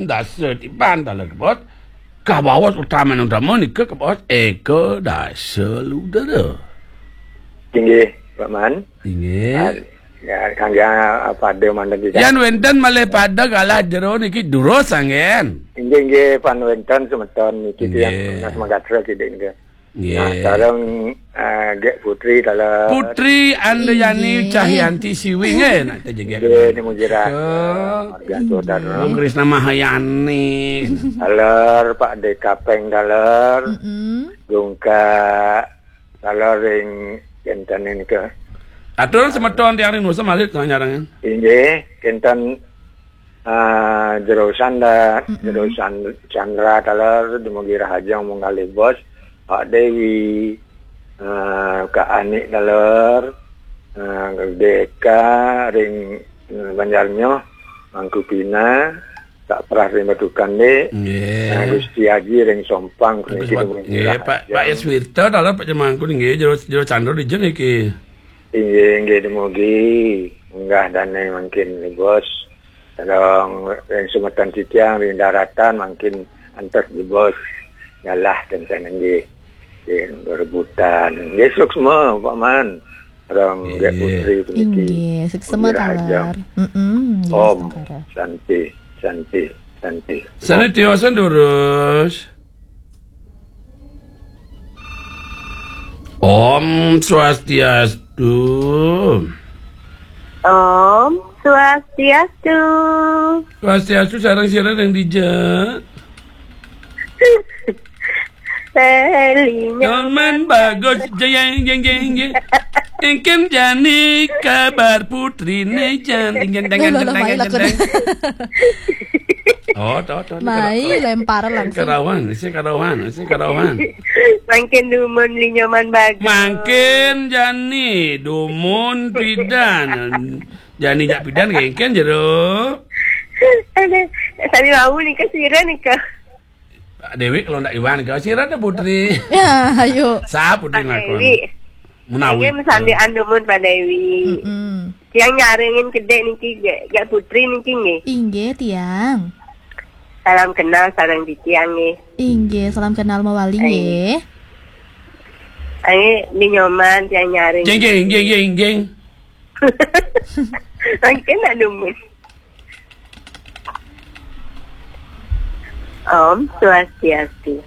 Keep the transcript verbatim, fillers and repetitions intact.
Dasa tiban taler, Bos. Kabaos utama-utama nika, Bos, Eka Dasa Ludra. Inggih, Pak Man. Inggih. Ah, ya, kangge, ah, pada mantun, Ki. Yan wenten malih pada galah jero niki durus anggen. Inggih, inggih, pan wenten semeton niki tiyang Nggih. Tunas Magatra kidik nika. Nggih. Nah, sareng, eh, Gek Putri taler. Putri Andayani Inggih. Cahyanti Siwi nggih, nak tejegek. Nggih, nemu jirah. Ke Marga Saudara. Bung Krisna Mahayani. Taler, Pak De Kapeng taler. Mm-mm. Dungka taler ring kenten nika. Atur semeton tiang ring nusa malih tengah nyarang. Inggih, kenten, ah, jero sanda, Mm-mm. jero san-, sandra taler dumugi rahajeng munggalih Bos, Pak Dewi, ah, Kak Anik taler, ah, Deka ring, eh, Banjarnyoh, Mangku Pina, Kak Prah ring Batukan, Dik. Nggih. Ah, Gusti Haji ring Sompang, Agus niki Bat-, dumugi nggih, Pak, rahajeng. Pak Yaswirta taler Pak Jemangku nggih, jero, jero candra dijeng niki. Inggih, inggih, dumugi munggah dane mangkin, Bos. Sareng ring semeton titiang ring daratan mangkin antos, Bos. Nyalah tenten nggih. Nggih, berebutan. Nggih, suksma, Pak Man. Sareng Gek Nggih. Putri puniki. Inggih, suksma Inggih, rahajeng. Taler. Mm-mm, nggih, Om Saudara. Santi, Santi, Santi. Santi tiosan durus. Om Swastiastu. Om Swastiastu. Swastiastu sareng sira ring dija. Selinya. Nyoman Bagus, jeng, jeng, jeng, jeng. Engken jani kabar putrine jan, jeng, jeng, jeng, Loh, loh, jeng, mai jeng, lakune. Jeng. Oh, to, to, to, Mai to. Lempar langsung. Karawan, sing karawan, sing karawan. Mangkin dumun Li Nyoman Bagus. Mangkin jani dumun pidan. Jani jak pidan kengken jero. Ada, sami wau nika sira nika. Pak Dewi kalau ndak iwan ke sira ada putri. Ya, ayo. Sa putri Pak lakon. Dewi. Menawi. Nggih, mesandikan dumun Pak Dewi. Mm-mm. Tiang nyarengin kedek niki, Gek, Gek Putri niki nggih. Inggih, tiang. Salam kenal sareng titiang nggih. Inggih, salam kenal mawali Ai. Nggih. Ai, Li Nyoman tiang nyareng. Jeng, jeng, jeng, jeng, jeng. Mangkin nak dumun. Om Swastiastu.